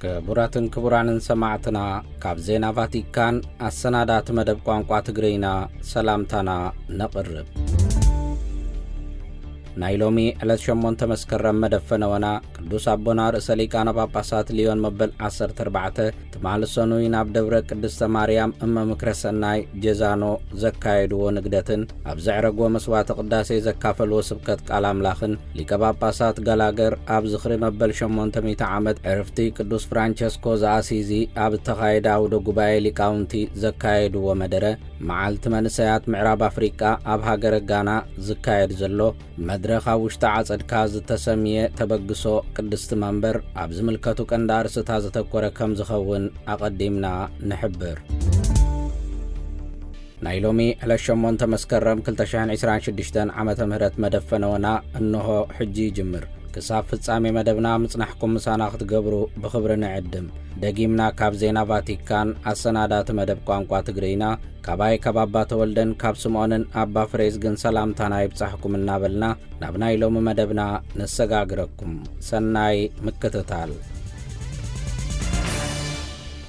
ክቡራትን ክቡራንን ሰማዕትና፣ ካብ ዜና ቫቲካን ኣሰናዳእቲ መደብ ቋንቋ ትግርይና ሰላምታና ነቕርብ። ናይ ሎሚ ዕለት ሸሞንተ መስከረም መደብ ፈነወና፣ ቅዱስ ኣቦና ርእሰ ሊቃነ ጳጳሳት ሊዮን መበል ዓሰርተ ኣርባዕተ ትማሊ ሰኑይ ናብ ደብረ ቅድስተ ማርያም እመ ምክረ ሰናይ ጀዛኖ ዘካየድዎ ንግደትን፣ ኣብ ዘዕረግዎ መስዋዕተ ቅዳሴ ዘካፈልዎ ስብከት ቃል ኣምላኽን፣ ሊቀ ጳጳሳት ጋላገር ኣብ ዝኽሪ መበል ሸሞንተ ሚእቲ ዓመት ዕርፍቲ ቅዱስ ፍራንቸስኮ ዘኣሲዚ ኣብ እተኻየደ ኣውደ ጉባኤ ሊቃውንቲ ዘካየድዎ መደረ፣ መዓልቲ መንእሰያት ምዕራብ ኣፍሪቃ ኣብ ሃገረ ጋና ዝካየድ ዘሎ መድረኽ ኣብ ውሽጢ ዓጸድካ ዝተሰምየ ተበግሶ ቅድስቲ መንበር ኣብ ዝምልከቱ ቀንዲ ኣርእስታት ዘተኮረ ከም ዝኸውን ኣቐዲምና ንሕብር። ናይ ሎሚ ዕለት ሸሞንተ መስከረም ክልተ ሽሕን ዕስራን ሽዱሽተን ዓመተ ምህረት መደብ ፈነወና እንሆ ሕጂ ይጅምር። ክሳብ ፍጻሜ መደብና ምጽናሕኩም ምሳና ክትገብሩ ብኽብሪ ንዕድም። ደጊምና ካብ ዜና ቫቲካን ኣሰናዳእቲ መደብ ቋንቋ ትግርይና፣ ካባይ ካብ ኣባ ተወልደን ካብ ስምዖንን ኣባ ፍሬዝግን ሰላምታና ይብጻሕኩም እናበልና፣ ናብ ናይ ሎሚ መደብና ነሰጋግረኩም። ሰናይ ምክትታል።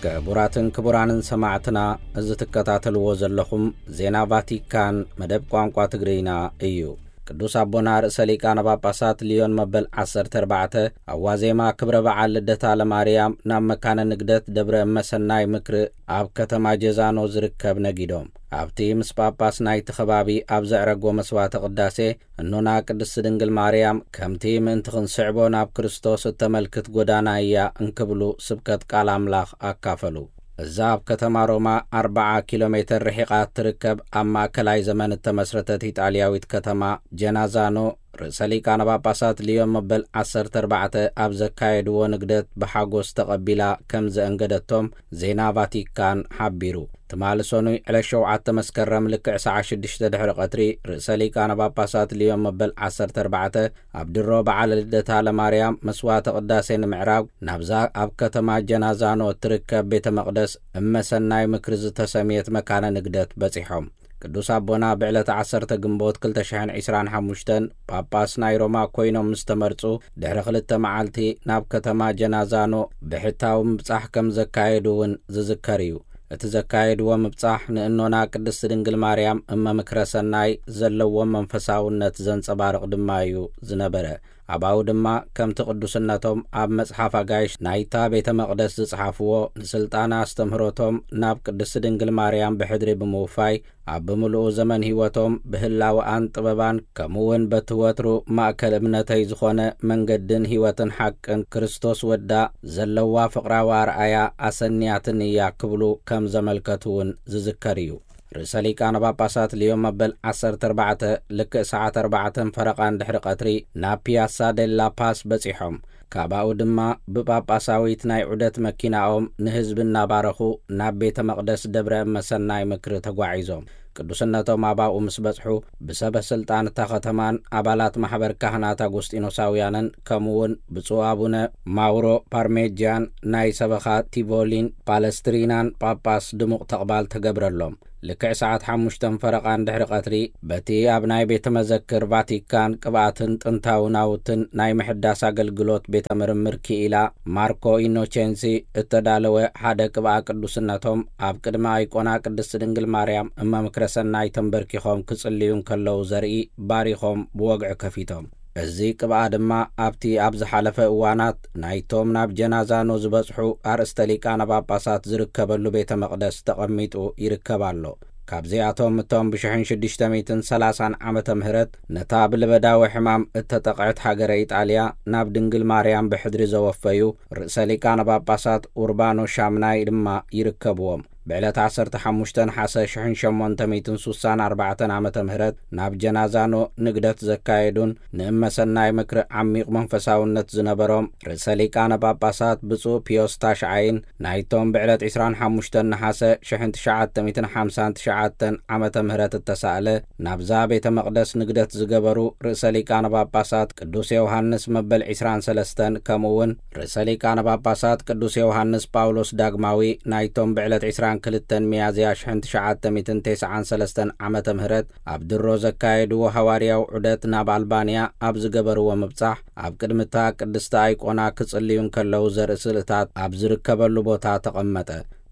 ክቡራትን ክቡራንን ሰማዕትና፣ እዚ ትከታተልዎ ዘለኹም ዜና ቫቲካን መደብ ቋንቋ ትግርይና እዩ። ቅዱስ ኣቦና ርእሰ ሊቃነ ጳጳሳት ሊዮን መበል ዓሰርተ ኣርባዕተ ኣብ ዋዜማ ክብረ በዓል ልደታ ለማርያም ናብ መካነ ንግደት ደብረ እመሰናይ ምክሪ ኣብ ከተማ ጀዛኖ ዝርከብ ነጊዶም። ኣብቲ ምስ ጳጳስ ናይቲ ከባቢ ኣብ ዘዕረግዎ መስዋዕተ ቅዳሴ፣ እኖና ቅድስቲ ድንግል ማርያም ከምቲ ምእንቲ ክንስዕቦ ናብ ክርስቶስ እተመልክት ጎዳና እያ እንክብሉ ስብከት ቃል ኣምላኽ ኣካፈሉ። እዛ ኣብ ከተማ ሮማ ኣርብዓ ኪሎ ሜተር ርሒቓ እትርከብ ኣብ ማእከላይ ዘመን እተመስረተት ኢጣልያዊት ከተማ ጀናዛኖ፣ ርእሰ ሊቃነ ጳጳሳት ሊዮን መበል ዓሰርተ ኣርባዕተ ኣብ ዘካየድዎ ንግደት ብሓጎስ ተቐቢላ ከም ዘእንገደቶም ዜና ቫቲካን ሓቢሩ። ትማሊ ሰኑይ ዕለት ሸውዓተ መስከረም ልክዕ ሰዓት ሽዱሽተ ድሕሪ ቀትሪ ርእሰ ሊቃነ ጳጳሳት ሊዮን መበል ዓሰርተ ኣርባዕተ ኣብ ድሮ በዓለ ልደታ ለማርያም መስዋዕተ ቅዳሴ ንምዕራግ ናብዛ ኣብ ከተማ ጀናዛኖ እትርከብ ቤተ መቕደስ እመ ሰናይ ምክሪ ዝተሰምየት መካነ ንግደት በጺሖም። ቅዱስ ኣቦና ብዕለተ ዓሰርተ ግንቦት ክልተ ሽሕን ዕስራን ሓሙሽተን ጳጳስ ናይ ሮማ ኮይኖም ምስ ተመርጹ ድሕሪ ክልተ መዓልቲ ናብ ከተማ ጀናዛኖ ብሕታዊ ምብጻሕ ከም ዘካየዱ እውን ዝዝከር እዩ። እቲ ዘካየድዎ ምብጻሕ ንእኖና ቅድስቲ ድንግል ማርያም እመ ምክረ ሰናይ ዘለዎም መንፈሳውነት ዘንጸባርቕ ድማ እዩ ዝነበረ። ኣባኡ ድማ ከምቲ ቅዱስነቶም ኣብ መጽሓፍ ኣጋይሽ ናይታ ቤተ መቕደስ ዝጸሓፍዎ፣ ንስልጣነ ኣስተምህሮቶም ናብ ቅድስቲ ድንግል ማርያም ብሕድሪ ብምውፋይ፣ ኣብ ብምሉኡ ዘመን ህይወቶም ብህላወኣን ጥበባን፣ ከምኡ እውን በቲ ወትሩ ማእከል እምነተይ ዝኾነ መንገድን ህይወትን ሓቅን ክርስቶስ ወዳ ዘለዋ ፍቕራዊ ኣርኣያ ኣሰንያትን እያ ክብሉ ከም ዘመልከቱ እውን ዝዝከር እዩ። ርእሰ ሊቃነ ጳጳሳት ሊዮን መበል ዓሰርተ ኣርባዕተ ልክዕ ሰዓት ኣርባዕተን ፈረቓን ድሕሪ ቀትሪ ናብ ፒያሳ ዴላ ፓስ በጺሖም። ካባኡ ድማ ብጳጳሳዊት ናይ ዑደት መኪናኦም ንህዝቢ እናባረኹ ናብ ቤተ መቕደስ ደብረ እመ ሰናይ ምክሪ ተጓዒዞም። ቅዱስነቶም ኣባኡ ምስ በጽሑ፣ ብሰበ ስልጣን እታ ከተማን ኣባላት ማሕበር ካህናት ኣጎስጢኖሳውያንን፣ ከምኡ እውን ብፁዕ ኣቡነ ማውሮ ፓርሜጃን ናይ ሰበኻ ቲቮሊን ፓለስትሪናን ጳጳስ ድሙቕ ተቕባል ተገብረሎም። ልክዕ ሰዓት ሓሙሽተን ፈረቓን ድሕሪ ቀትሪ፣ በቲ ኣብ ናይ ቤተ መዘክር ቫቲካን ቅብኣትን ጥንታዊ ናውትን ናይ ምሕዳስ ኣገልግሎት ቤተ ምርምር ክኢላ ማርኮ ኢኖቼንሲ እተዳለወ ሓደ ቅብኣ ቅዱስነቶም ኣብ ቅድሚ ኣይቆና ቅድስቲ ድንግል ማርያም እመ ምክረ ሰናይ ተንበርኪኾም ክጽልዩ እንከለዉ ዘርኢ ባሪኾም ብወግዒ ከፊቶም። እዚ ቅብኣ ድማ ኣብቲ ኣብ ዝሓለፈ እዋናት ናይቶም ናብ ጀናዛኖ ዝበጽሑ ኣርእስተ ሊቃነ ጳጳሳት ዝርከበሉ ቤተ መቕደስ ተቐሚጡ ይርከብ ኣሎ። ካብዚኣቶም እቶም ብሽሕን ሽዱሽተ ሚእትን ሰላሳን ዓመተ ምህረት ነታ ብልበዳዊ ሕማም እተጠቕዐት ሃገረ ኢጣልያ ናብ ድንግል ማርያም ብሕድሪ ዘወፈዩ ርእሰ ሊቃነ ጳጳሳት ኡርባኖ ሻምናይ ድማ ይርከብዎም። ብዕለት ዓሰርተ ሓሙሽተ ነሓሰ ሽሕን ሸሞንተ ሚእትን ሱሳን ኣርባዕተን ዓመተ ምህረት ናብ ጀናዛኖ ንግደት ዘካየዱን ንእመ ሰናይ ምክሪ ዓሚቕ መንፈሳውነት ዝነበሮም ርእሰ ሊቃነ ጳጳሳት ብፁዕ ፒዮስ ታሽዓይን ናይቶም ብዕለት ዕስራን ሓሙሽተን ነሓሰ ሽሕን ትሽዓተ ሚእትን ሓምሳን ትሽዓተን ዓመተ ምህረት እተሳእለ ናብዛ ቤተ መቕደስ ንግደት ዝገበሩ ርእሰ ሊቃነ ጳጳሳት ቅዱስ ዮሃንስ መበል ዕስራን ሰለስተን ከምኡ እውን ርእሰ ሊቃነ ጳጳሳት ቅዱስ ዮሃንስ ጳውሎስ ዳግማዊ ናይቶም ብዕለት ዕስራን ክልተን ሚያዝያ ሽሕን ትሽዓተ ሚእትን ተስዓን ሰለስተን ዓመተ ምህረት ኣብ ድሮ ዘካየድዎ ሃዋርያዊ ዑደት ናብ ኣልባንያ ኣብ ዝገበርዎ ምብጻሕ፣ ኣብ ቅድሚ እታ ቅድስቲ ኣይቆና ክጽልዩ እንከለዉ ዘርኢ ስእልታት ኣብ ዝርከበሉ ቦታ ተቐመጠ።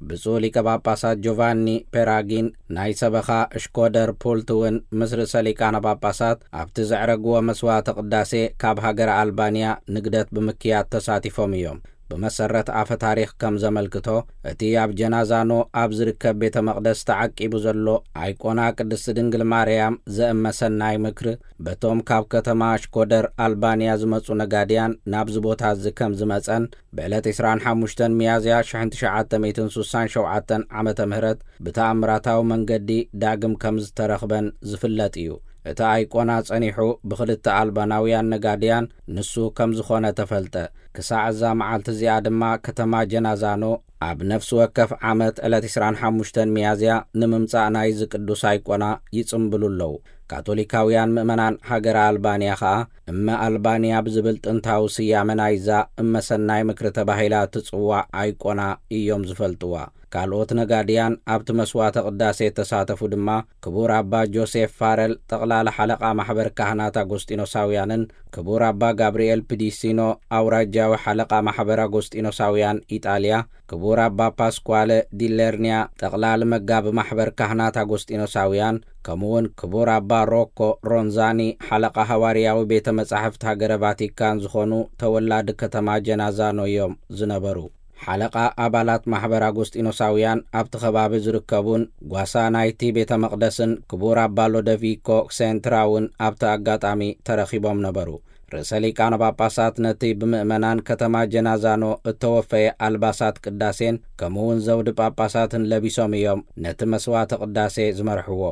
ብፁዕ ሊቀ ጳጳሳት ጆቫኒ ፔራጊን ናይ ሰበኻ ሽኮደር ፑልት እውን ምስ ርእሰ ሊቃነ ጳጳሳት ኣብቲ ዘዕረግዎ መስዋዕተ ቅዳሴ ካብ ሃገረ ኣልባንያ ንግደት ብምክያድ ተሳቲፎም እዮም። ብመሰረት ኣፈ ታሪኽ ከም ዘመልክቶ፣ እቲ ኣብ ጀናዛኖ ኣብ ዝርከብ ቤተ መቕደስ ተዓቂቡ ዘሎ ኣይቆና ቅድስቲ ድንግል ማርያም ዘእመሰናይ ምክሪ፣ በቶም ካብ ከተማ ሽኮደር ኣልባንያ ዝመጹ ነጋድያን ናብዚ ቦታ እዚ ከም ዝመጸን፣ ብዕለት ዕስራን ሓሙሽተን ሚያዝያ ሽሕን ትሽዓተ ሚእትን ስሳን ሸውዓተን ዓመተ ምህረት ብተኣምራታዊ መንገዲ ዳግም ከም ዝተረኽበን ዝፍለጥ እዩ። እቲ ኣይቆና ጸኒሑ ብኽልተ ኣልባናውያን ነጋድያን ንሱ ከም ዝኾነ ተፈልጠ። ክሳዕ እዛ መዓልቲ እዚኣ ድማ ከተማ ጀናዛኖ ኣብ ነፍሲ ወከፍ ዓመት ዕለት ዕስራን ሓሙሽተን ሚያዝያ ንምምጻእ ናይዚ ቅዱስ ኣይቆና ይጽምብሉ ኣለዉ። ካቶሊካውያን ምእመናን ሃገረ ኣልባንያ ኸኣ እመ ኣልባንያ ብዝብል ጥንታዊ ስያመ ናይዛ እመ ሰናይ ምክሪ ተባሂላ ትጽዋዕ ኣይቆና እዮም ዝፈልጥዋ። ካልኦት ነጋድያን ኣብቲ መስዋዕተ ቅዳሴ እተሳተፉ ድማ ክቡር ኣባ ጆሴፍ ፋረል ጠቕላላ ሓለቓ ማሕበር ካህናት ኣጎስጢኖሳውያንን ክቡር ኣባ ጋብርኤል ፒዲሲኖ ኣውራጃዊ ሓለቓ ማሕበር ኣጎስጢኖሳውያን ኢጣልያ፣ ክቡር ኣባ ፓስኳለ ዲሌርንያ ጠቕላሊ መጋቢ ማሕበር ካህናት ኣጎስጢኖሳውያን፣ ከምኡውን ክቡር ኣባ ሮኮ ሮንዛኒ ሓለቓ ሃዋርያዊ ቤተ መጻሕፍቲ ሃገረ ቫቲካን ዝኾኑ ተወላዲ ከተማ ጀናዛኖ እዮም ዝነበሩ። ሓለቓ ኣባላት ማሕበር ኣጎስጢኖሳውያን ኣብቲ ከባቢ ዝርከቡን ጓሳ ናይቲ ቤተ መቕደስን ክቡር ኣባ ሎደቪኮ ሴንትራ እውን ኣብቲ ኣጋጣሚ ተረኺቦም ነበሩ። ርእሰ ሊቃነ ጳጳሳት ነቲ ብምእመናን ከተማ ጀናዛኖ እተወፈየ ኣልባሳት ቅዳሴን ከምኡውን ዘውዲ ጳጳሳትን ለቢሶም እዮም ነቲ መስዋዕተ ቅዳሴ ዝመርሕዎ።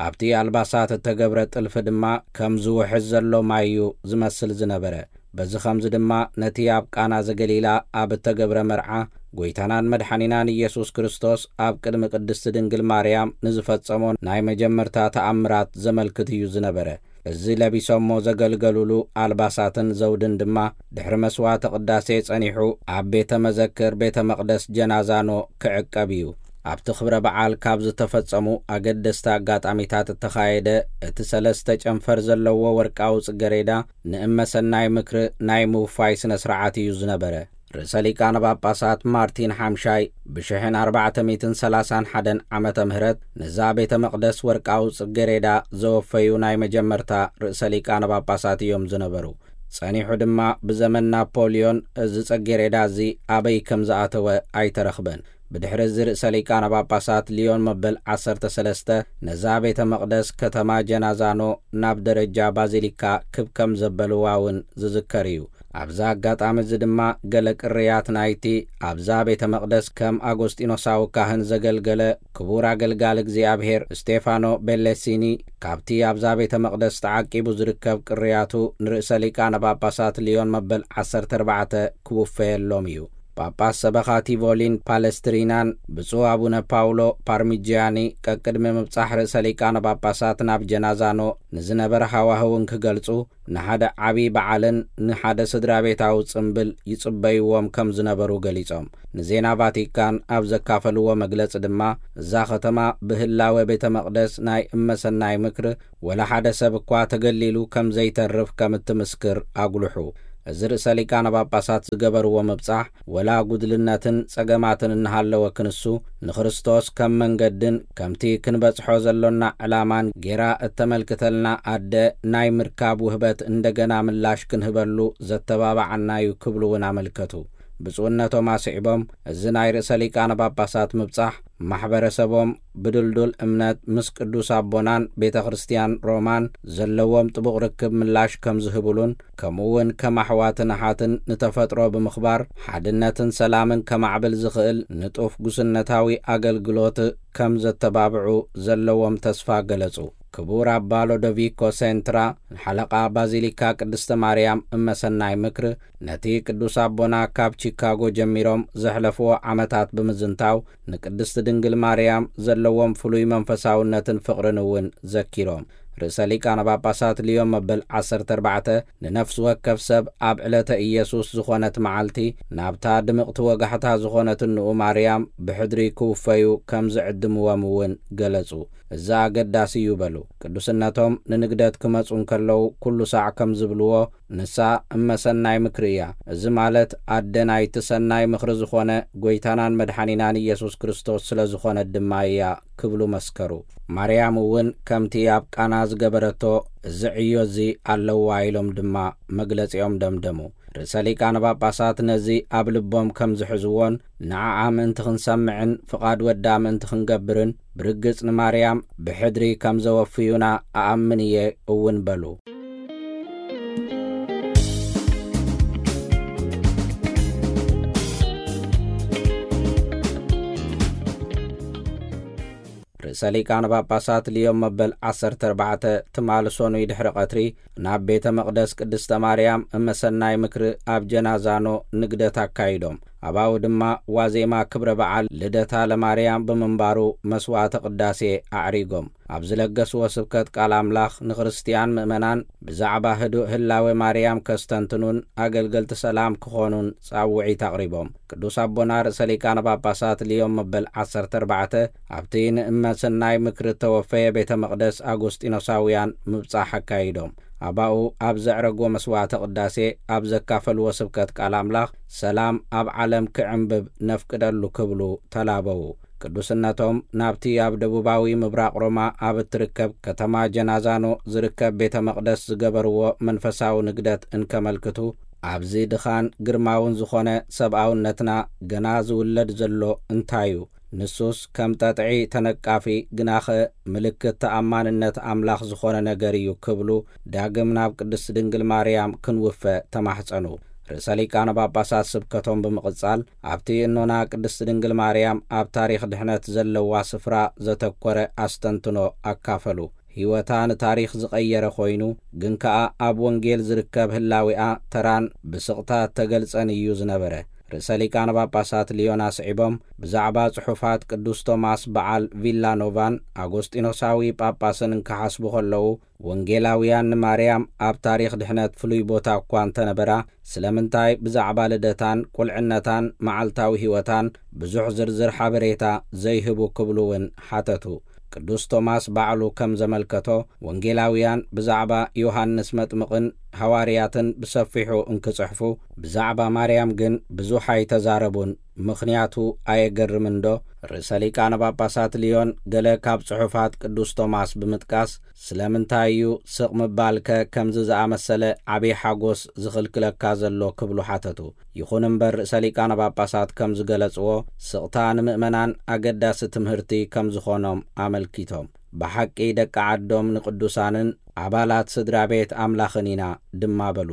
ኣብቲ ኣልባሳት እተገብረ ጥልፊ ድማ ከም ዝውሕዝ ዘሎ ማይ እዩ ዝመስል ዝነበረ። በዚ ኸምዚ ድማ ነቲ ኣብ ቃና ዘገሊላ ኣብ እተገብረ መርዓ፣ ጐይታናን መድሓኒናን ኢየሱስ ክርስቶስ ኣብ ቅድሚ ቅድስቲ ድንግል ማርያም ንዝፈጸሞ ናይ መጀመርታ ተኣምራት ዘመልክት እዩ ዝነበረ። እዚ ለቢሶሞ ዘገልገሉሉ ኣልባሳትን ዘውድን ድማ ድሕሪ መስዋዕተ ቅዳሴ ጸኒሑ ኣብ ቤተ መዘክር ቤተ መቕደስ ጀናዛኖ ክዕቀብ እዩ። ኣብቲ ክብረ በዓል ካብ ዝተፈጸሙ ኣገደስቲ ኣጋጣሚታት እተኻየደ፣ እቲ ሰለስተ ጨንፈር ዘለዎ ወርቃዊ ጽገሬዳ ንእመ ሰናይ ምክሪ ናይ ምውፋይ ስነ ስርዓት እዩ ዝነበረ። ርእሰ ሊቃነ ጳጳሳት ማርቲን ሓምሻይ ብሽሕን ኣርባዕተ ሚእትን ሰላሳን ሓደን ዓመተ ምህረት ነዛ ቤተ መቕደስ ወርቃዊ ጽገሬዳ ዘወፈዩ ናይ መጀመርታ ርእሰ ሊቃነ ጳጳሳት እዮም ዝነበሩ። ጸኒሑ ድማ ብዘመን ናፖልዮን እዚ ጽጌሬዳ እዚ ኣበይ ከም ዝኣተወ ኣይተረኽበን። ብድሕሪ እዚ ርእሰ ሊቃነ ጳጳሳት ሊዮን መበል ዓሰርተ ሰለስተ ነዛ ቤተ መቕደስ ከተማ ጀናዛኖ ናብ ደረጃ ባዚሊካ ክብ ከም ዘበልዋ እውን ዝዝከር እዩ። ኣብዚ ኣጋጣሚ እዚ ድማ ገለ ቅርያት ናይቲ ኣብዛ ቤተ መቕደስ ከም ኣጎስጢኖሳዊ ካህን ዘገልገለ ክቡር ኣገልጋሊ እግዚኣብሔር ስቴፋኖ ቤሌሲኒ ካብቲ ኣብዛ ቤተ መቕደስ ተዓቂቡ ዝርከብ ቅርያቱ ንርእሰ ሊቃነ ጳጳሳት ሊዮን መበል ዓሰርተ ኣርባዕተ ክውፈየሎም እዩ። ጳጳስ ሰበኻ ቲቮሊን ፓለስትሪናን ብፁዕ ኣቡነ ፓውሎ ፓርሚጂያኒ ቀቅድሚ ምብጻሕ ርእሰ ሊቃነ ጳጳሳት ናብ ጀናዛኖ ንዝነበረ ሃዋህውን ክገልጹ፣ ንሓደ ዓቢ በዓልን ንሓደ ስድራ ቤታዊ ጽምብል ይጽበይዎም ከም ዝነበሩ ገሊጾም። ንዜና ቫቲካን ኣብ ዘካፈልዎ መግለጺ ድማ፣ እዛ ከተማ ብህላወ ቤተ መቕደስ ናይ እመሰናይ ምክሪ ወላ ሓደ ሰብ እኳ ተገሊሉ ከም ዘይተርፍ ከም እትምስክር ኣጉልሑ። እዚ ርእሰ ሊቃነ ጳጳሳት ዝገበርዎ ምብጻሕ፣ ወላ ጉድልነትን ጸገማትን እናሃለወ ክንሱ፣ ንክርስቶስ ከም መንገድን ከምቲ ክንበጽሖ ዘሎና ዕላማን ጌራ እተመልክተልና ኣደ ናይ ምርካብ ውህበት እንደገና ምላሽ ክንህበሉ ዘተባብዓና እዩ ክብሉ እውን ኣመልከቱ። ብፁዕነቶም ኣስዒቦም፣ እዚ ናይ ርእሰ ሊቃነ ጳጳሳት ምብጻሕ፣ ማሕበረሰቦም ብድልዱል እምነት ምስ ቅዱስ ኣቦናን ቤተ ክርስቲያን ሮማን ዘለዎም ጥቡቕ ርክብ ምላሽ ከም ዝህብሉን፣ ከምኡ እውን ከም ኣሕዋትን ኣሓትን ንተፈጥሮ ብምኽባር ሓድነትን ሰላምን ከማዕብል ዝኽእል ንጡፍ ጉስነታዊ ኣገልግሎት ከም ዘተባብዑ ዘለዎም ተስፋ ገለጹ። ክቡር ኣባ ሎዶቪኮ ሴንትራ፣ ሓለቓ ባዚሊካ ቅድስተ ማርያም እመሰናይ ምክሪ፣ ነቲ ቅዱስ ኣቦና ካብ ቺካጎ ጀሚሮም ዘሕለፍዎ ዓመታት ብምዝንታው፣ ንቅድስቲ ድንግል ማርያም ዘለዎም ፍሉይ መንፈሳውነትን ፍቕርን እውን ዘኪሮም። ርእሰ ሊቃነ ጳጳሳት ልዮን መበል ዓሰርተ ኣርባዕተ ንነፍሲ ወከፍ ሰብ ኣብ ዕለተ ኢየሱስ ዝኾነት መዓልቲ ናብታ ድምቕቲ ወጋሕታ ዝኾነት እንኡ ማርያም ብሕድሪ ክውፈዩ ከም ዝዕድምዎም እውን ገለጹ። እዚ ኣገዳሲ እዩ በሉ። ቅዱስነቶም ንንግደት ክመጹ እንከለዉ ኩሉ ሳዕ ከም ዝብልዎ፣ ንሳ እመ ሰናይ ምክሪ እያ። እዚ ማለት ኣደ ናይቲ ሰናይ ምኽሪ ዝኾነ ጐይታናን መድሓኒናን ኢየሱስ ክርስቶስ ስለ ዝኾነት ድማ እያ ክብሉ መስከሩ። ማርያም እውን ከምቲ ኣብ ቃና ዝገበረቶ እዚ ዕዮ እዚ ኣለዋ ኢሎም ድማ መግለጺኦም ደምደሙ። ርእሰ ሊቃነ ጳጳሳት ነዚ ኣብ ልቦም ከም ዝሕዝዎን ንዓኣ ምእንቲ ክንሰምዕን ፍቓድ ወዳ ምእንቲ ክንገብርን ብርግጽ ንማርያም ብሕድሪ ከም ዘወፍዩና ኣኣምን እየ እውን በሉ። ርእሰ ሊቃነ ጳጳሳት ልዮን መበል ዓሰርተ ኣርባዕተ ትማሊ ሰኑይ ድሕሪ ቀትሪ ናብ ቤተ መቕደስ ቅድስተ ማርያም እመሰናይ ምክሪ ኣብ ጀናዛኖ ንግደት ኣካይዶም። ኣባኡ ድማ ዋዜማ ክብረ በዓል ልደታ ለማርያም ብምንባሩ መስዋዕተ ቅዳሴ ኣዕሪጎም። ኣብ ዝለገስዎ ስብከት ቃል ኣምላኽ ንክርስትያን ምእመናን ብዛዕባ ህዱእ ህላዌ ማርያም ከስተንትኑን ኣገልገልቲ ሰላም ክኾኑን ጻውዒት ኣቕሪቦም። ቅዱስ ኣቦና ርእሰ ሊቃነ ጳጳሳት ልዮን መበል ዓሰርተ ኣርባዕተ ኣብቲ ንእመ ሰናይ ምክሪ እተወፈየ ቤተ መቕደስ ኣጎስጢኖሳውያን ምብጻሕ ኣካይዶም። ኣባኡ ኣብ ዘዕረግዎ መስዋዕተ ቅዳሴ ኣብ ዘካፈልዎ ስብከት ቃል ኣምላኽ ሰላም ኣብ ዓለም ክዕንብብ ነፍቅደሉ ክብሉ ተላበዉ። ቅዱስነቶም ናብቲ ኣብ ደቡባዊ ምብራቕ ሮማ ኣብ እትርከብ ከተማ ጀናዛኖ ዝርከብ ቤተ መቕደስ ዝገበርዎ መንፈሳዊ ንግደት እንከመልክቱ፣ ኣብዚ ድኻን ግርማውን ዝኾነ ሰብኣውነትና ገና ዝውለድ ዘሎ እንታይ እዩ? ንሱስ ከም ጠጥዒ ተነቃፊ ግናኸ ምልክት ተኣማንነት ኣምላኽ ዝኾነ ነገር እዩ ክብሉ ዳግም ናብ ቅድስት ድንግል ማርያም ክንውፈ ተማሕጸኑ። ርእሰ ሊቃነ ጳጳሳት ስብከቶም ብምቕጻል ኣብቲ እኖና ቅድስት ድንግል ማርያም ኣብ ታሪኽ ድሕነት ዘለዋ ስፍራ ዘተኮረ ኣስተንትኖ ኣካፈሉ። ህይወታ ንታሪኽ ዝቐየረ ኮይኑ፣ ግን ከኣ ኣብ ወንጌል ዝርከብ ህላዌኣ ተራን ብስቕታ እተገልጸን እዩ ዝነበረ። ርእሰ ሊቃነ ጳጳሳት ልዮን ኣስዒቦም ብዛዕባ ጽሑፋት ቅዱስ ቶማስ በዓል ቪላኖቫን ኣጎስጢኖሳዊ ጳጳስን እንክሓስቡ ከለዉ፣ ወንጌላውያን ንማርያም ኣብ ታሪኽ ድሕነት ፍሉይ ቦታ እኳ እንተነበራ፣ ስለምንታይ ብዛዕባ ልደታን ቁልዕነታን መዓልታዊ ህይወታን ብዙሕ ዝርዝር ሓበሬታ ዘይህቡ ክብሉ እውን ሓተቱ። ቅዱስ ቶማስ ባዕሉ ከም ዘመልከቶ፣ ወንጌላውያን ብዛዕባ ዮሃንስ መጥምቕን ሃዋርያትን ብሰፊሑ እንክጽሕፉ፣ ብዛዕባ ማርያም ግን ብዙሕ ኣይተዛረቡን። ምኽንያቱ ኣየገርምን ዶ? ርእሰ ሊቃነ ጳጳሳት ልዮን ገለ ካብ ጽሑፋት ቅዱስ ቶማስ ብምጥቃስ፣ "ስለምንታይ እዩ ስቕ ምባልከ ከምዚ ዝኣመሰለ ዓብዪ ሓጎስ ዝኽልክለካ ዘሎ?" ክብሉ ሓተቱ። ይኹን እምበር፣ ርእሰ ሊቃነ ጳጳሳት ከም ዝገለጽዎ፣ ስቕታ ንምእመናን ኣገዳሲ ትምህርቲ ከም ዝኾኖም ኣመልኪቶም፣ "ብሓቂ ደቂ ዓዶም ንቅዱሳንን ኣባላት ስድራ ቤት ኣምላኽን ኢና" ድማ በሉ።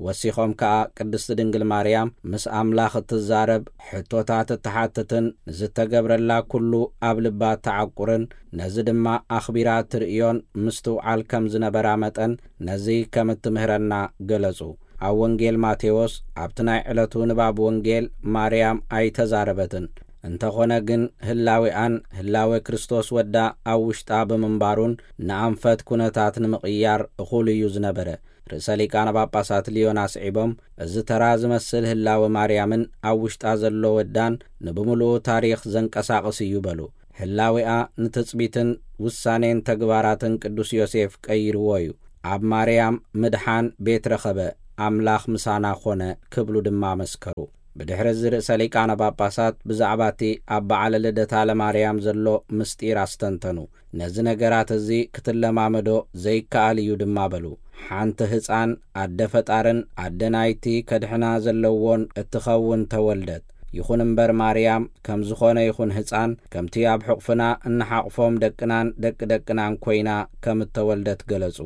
ወሲኾም ከኣ፣ ቅድስቲ ድንግል ማርያም ምስ ኣምላኽ እትዛረብ፣ ሕቶታት እትሓትትን ንዝተገብረላ ኩሉ ኣብ ልባ እተዓቁርን፣ ነዚ ድማ ኣኽቢራ እትርእዮን ምስትውዓል ከም ዝነበራ መጠን፣ ነዚ ከም እትምህረና ገለጹ። ኣብ ወንጌል ማቴዎስ፣ ኣብቲ ናይ ዕለቱ ንባብ ወንጌል ማርያም ኣይተዛረበትን። እንተኾነ ግን፣ ህላዌኣን ህላዌ ክርስቶስ ወዳ ኣብ ውሽጣ ብምንባሩን ንኣንፈት ኩነታት ንምቕያር እኹል እዩ ዝነበረ። ርእሰ ሊቃነ ጳጳሳት ልዮን ኣስዒቦም፣ እዚ ተራ ዝመስል ህላወ ማርያምን ኣብ ውሽጣ ዘሎ ወዳን ንብምሉኡ ታሪኽ ዘንቀሳቕስ እዩ በሉ። ህላዌኣ ንትጽቢትን ውሳኔን ተግባራትን ቅዱስ ዮሴፍ ቀይርዎ እዩ። ኣብ ማርያም ምድሓን ቤት ረኸበ፣ ኣምላኽ ምሳና ኾነ ክብሉ ድማ መስከሩ። ብድሕሪ እዚ ርእሰ ሊቃነ ጳጳሳት ብዛዕባ እቲ ኣብ በዓለ ልደታ ለማርያም ዘሎ ምስጢር ኣስተንተኑ። ነዚ ነገራት እዚ ክትለማመዶ ዘይከኣል እዩ ድማ በሉ። ሓንቲ ህፃን ኣደ ፈጣርን ኣደ ናይቲ ከድሕና ዘለዎን እትኸውን ተወልደት። ይኹን እምበር ማርያም ከም ዝኾነ ይኹን ህፃን ከምቲ ኣብ ሕቑፍና እንሓቕፎም ደቅናን ደቂ ደቅናን ኮይና ከም እተወልደት ገለጹ።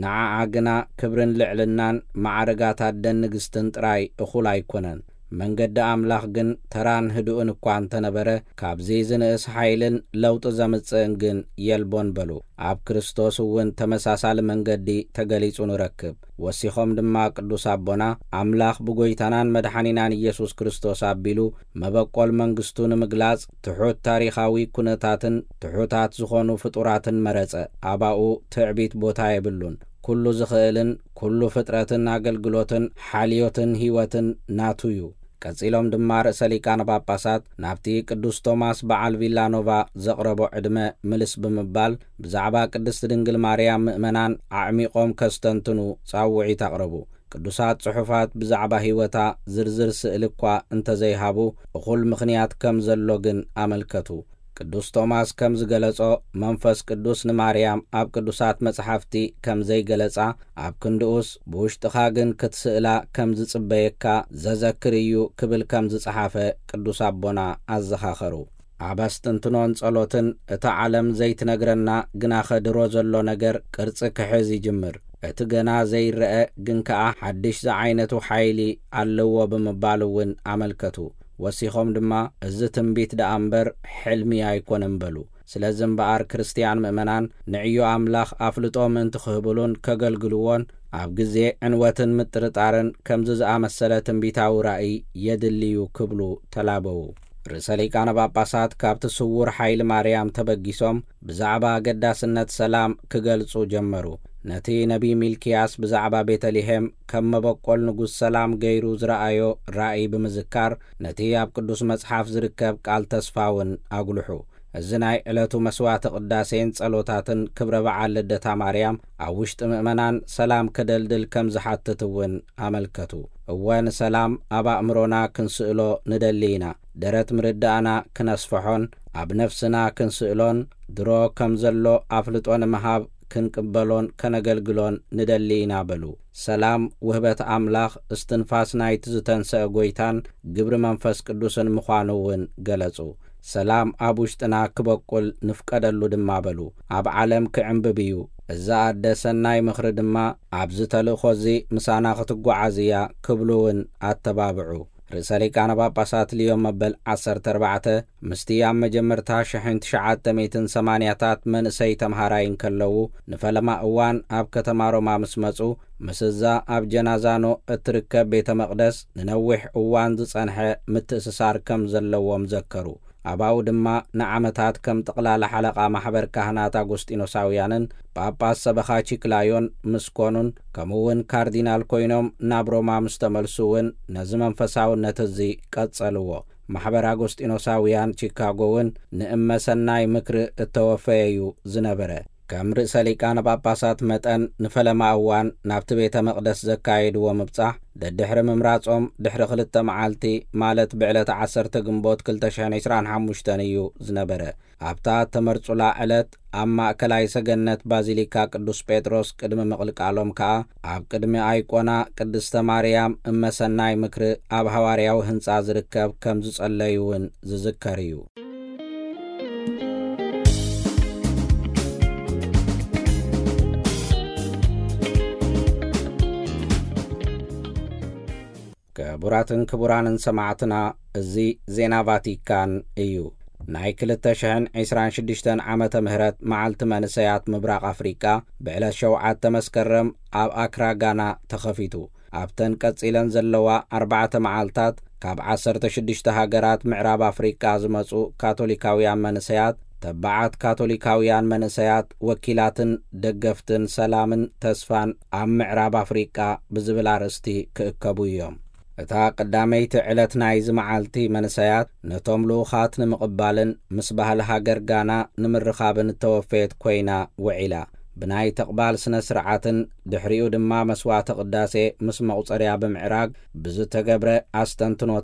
ንዓኣ ግና ክብርን ልዕልናን ማዕርጋት ኣደን ንግስትን ጥራይ እኹል ኣይኮነን። መንገዲ ኣምላኽ ግን ተራን ህዱእን እኳ እንተነበረ፣ ካብዚ ዝንእስ ሓይልን ለውጢ ዘምጽእን ግን የልቦን በሉ። ኣብ ክርስቶስ እውን ተመሳሳሊ መንገዲ ተገሊጹ ንረክብ። ወሲኾም ድማ ቅዱስ ኣቦና፣ ኣምላኽ ብጎይታናን መድሓኒናን ኢየሱስ ክርስቶስ ኣቢሉ መበቆል መንግስቱ ንምግላጽ ትሑት ታሪኻዊ ኩነታትን ትሑታት ዝኾኑ ፍጡራትን መረጸ። ኣባኡ ትዕቢት ቦታ የብሉን። ኩሉ ዝኽእልን ኩሉ ፍጥረትን ኣገልግሎትን ሓልዮትን ህይወትን ናቱ እዩ። ቀጺሎም ድማ ርእሰ ሊቃነ ጳጳሳት ናብቲ ቅዱስ ቶማስ በዓል ቪላኖቫ ዘቕረቦ ዕድመ ምልስ ብምባል፣ ብዛዕባ ቅድስቲ ድንግል ማርያም ምእመናን ኣዕሚቖም ከስተንትኑ ጻውዒት ኣቕረቡ። ቅዱሳት ጽሑፋት ብዛዕባ ህይወታ ዝርዝር ስእሊ እኳ እንተዘይሃቡ፣ እኹል ምኽንያት ከም ዘሎ ግን ኣመልከቱ። ቅዱስ ቶማስ ከም ዝገለጾ፣ መንፈስ ቅዱስ ንማርያም ኣብ ቅዱሳት መጽሓፍቲ ከም ዘይገለጻ፣ ኣብ ክንድኡስ ብውሽጥኻ ግን ክትስእላ ከም ዝጽበየካ ዘዘክር እዩ ክብል ከም ዝጸሓፈ ቅዱስ ኣቦና ኣዘኻኸሩ። ኣብ ኣስተንትኖን ጸሎትን እታ ዓለም ዘይትነግረና ግናኸ ድሮ ዘሎ ነገር ቅርጺ ክሕዝ ይጅምር። እቲ ገና ዘይረአ ግን ከኣ ሓድሽ ዝዓይነቱ ሓይሊ ኣለዎ ብምባል እውን ኣመልከቱ። ወሲኾም ድማ፣ "እዚ ትንቢት ደኣ እምበር ሕልሚ ኣይኮነን" በሉ። ስለዚ እምበኣር ክርስትያን ምእመናን ንዕዮ ኣምላኽ ኣፍልጦ ምእንቲ ክህብሉን ከገልግልዎን፣ ኣብ ግዜ ዕንወትን ምጥርጣርን ከምዚ ዝኣመሰለ ትንቢታዊ ራእይ የድልዩ ክብሉ ተላበዉ። ርእሰ ሊቃነ ጳጳሳት ካብቲ ስዉር ሓይሊ ማርያም ተበጊሶም ብዛዕባ ኣገዳስነት ሰላም ክገልጹ ጀመሩ። ነቲ ነቢይ ሚልክያስ ብዛዕባ ቤተልሔም ከም መበቆል ንጉስ ሰላም ገይሩ ዝረኣዮ ራእይ ብምዝካር፣ ነቲ ኣብ ቅዱስ መጽሓፍ ዝርከብ ቃል ተስፋ እውን ኣጉልሑ። እዚ ናይ ዕለቱ መስዋዕተ ቅዳሴን ጸሎታትን ክብረ በዓል ልደታ ማርያም ኣብ ውሽጢ ምእመናን ሰላም ከደልድል ከም ዝሓትት እውን ኣመልከቱ። እወ፣ ንሰላም ኣብ ኣእምሮና ክንስእሎ ንደሊ ኢና። ደረት ምርዳእና ክነስፍሖን ኣብ ነፍስና ክንስእሎን፣ ድሮ ከም ዘሎ ኣፍልጦ ንምሃብ ክንቅበሎን ከነገልግሎን ንደሊ ኢና በሉ። ሰላም ውህበት ኣምላኽ፣ እስትንፋስ ናይቲ ዝተንሰአ ጐይታን ግብሪ መንፈስ ቅዱስን ምዃኑ እውን ገለጹ። ሰላም ኣብ ውሽጥና ክበቁል ንፍቀደሉ ድማ በሉ። ኣብ ዓለም ክዕምብብ እዩ። እዛ ኣደ ሰናይ ምኽሪ ድማ ኣብዚ ተልእኾ እዚ ምሳና ክትጓዓዝ እያ ክብሉ እውን ኣተባብዑ። ርእሰ ሊቃነ ጳጳሳት ልዮ መበል ዓሰርተ ኣርባዕተ ምስቲ ኣብ መጀመርታ ሽሕን ትሽዓተ ሚእትን ሰማንያታት መንእሰይ ተምሃራይ እንከለዉ ንፈለማ እዋን ኣብ ከተማ ሮማ ምስ መጹ፣ ምስ እዛ ኣብ ጀናዛኖ እትርከብ ቤተ መቕደስ ንነዊሕ እዋን ዝጸንሐ ምትእስሳር ከም ዘለዎም ዘከሩ። ኣባኡ ድማ ንዓመታት ከም ጠቕላላ ሓለቓ ማሕበር ካህናት ኣጎስጢኖሳውያንን ጳጳስ ሰበኻ ቺክላዮን ምስ ኮኑን፣ ከምኡ እውን ካርዲናል ኮይኖም ናብ ሮማ ምስ ተመልሱ እውን ነዚ መንፈሳውነት እዚ ቀጸልዎ። ማሕበር ኣጎስጢኖሳውያን ቺካጎ እውን ንእመ ሰናይ ምክሪ እተወፈየ እዩ ዝነበረ። ከም ርእሰ ሊቃነ ጳጳሳት መጠን ንፈለማ እዋን ናብቲ ቤተ መቕደስ ዘካየድዎ ምብጻሕ ደድሕሪ ምምራጾም ድሕሪ ክልተ መዓልቲ፣ ማለት ብዕለት ዓሰርተ ግንቦት ክልተ ሽሕን ዕስራን ሓሙሽተን እዩ ዝነበረ። ኣብታ እተመርጹላ ዕለት ኣብ ማእከላይ ሰገነት ባዚሊካ ቅዱስ ጴጥሮስ ቅድሚ ምቕልቃሎም ከኣ ኣብ ቅድሚ ኣይቆና ቅድስተ ማርያም እመ ሰናይ ምክሪ ኣብ ሃዋርያዊ ህንጻ ዝርከብ ከም ዝጸለዩ እውን ዝዝከር እዩ። ክቡራትን ክቡራንን ሰማዕትና፣ እዚ ዜና ቫቲካን እዩ። ናይ ክልተ ሽሕን ዕስራን ሽዱሽተን ዓመተ ምህረት መዓልቲ መንእሰያት ምብራቕ ኣፍሪቃ ብዕለት ሸውዓተ መስከረም ኣብ ኣክራ ጋና ተኸፊቱ። ኣብተን ቀጺለን ዘለዋ ኣርባዕተ መዓልታት ካብ ዓሰርተ ሽዱሽተ ሃገራት ምዕራብ ኣፍሪቃ ዝመጹ ካቶሊካውያን መንእሰያት፣ ተባዓት ካቶሊካውያን መንእሰያት፣ ወኪላትን ደገፍትን ሰላምን ተስፋን ኣብ ምዕራብ ኣፍሪቃ ብዝብል ኣርእስቲ ክእከቡ እዮም። እታ ቀዳመይቲ ዕለት ናይዚ መዓልቲ መንእሰያት ነቶም ልኡኻት ንምቕባልን ምስ ባህሊ ሃገር ጋና ንምርኻብን እተወፈየት ኮይና ውዒላ። ብናይ ተቕባል ስነ ስርዓትን ድሕሪኡ ድማ መስዋዕተ ቅዳሴ ምስ መቑጸርያ ብምዕራግ ብዝተገብረ ኣስተንትኖ